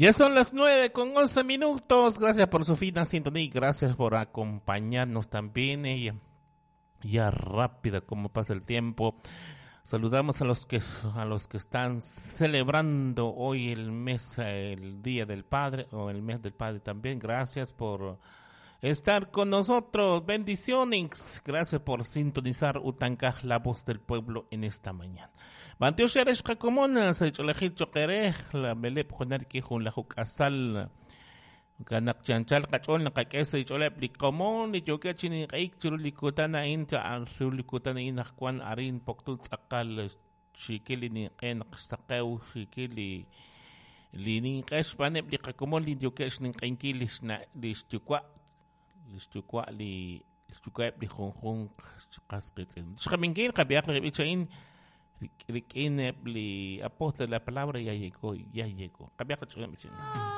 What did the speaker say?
Ya son las 9:11. Gracias por su fina sintonía y gracias por acompañarnos también. Y ya rápido como pasa el tiempo. Saludamos a los que están celebrando hoy el mes, el Día del Padre o el mes del Padre también. Gracias por estar con nosotros. Bendiciones. Gracias por sintonizar Utankaj, la voz del pueblo, en esta mañana. Bantiox erex qakomon sa ch'oolejil choq erej la meleb junar ki jun laju k'asal kanaq chanchal qach'ool naqak'e sa ch'ooleb li komon li yookeb' chi ninq'ehik chiru li kutan a'in chiru li kutan a'in naq wan arin Poctul tz'aqal xiikil li ninq'e naq xsaqew xiikil li ninq'e xb'aaneb' li qakomon li yookeb' xninq'ehinkil li xna' li xyuwa' li xyuwa'eb' li junjunq qas qiitz'in. Xqab'inkil qab'ihaq li b'ich a'in rik'in eb' li apóstol de la palabra, "Ya llegó, ya llegó". Qab'ihaq qach'ool b'ich a'in.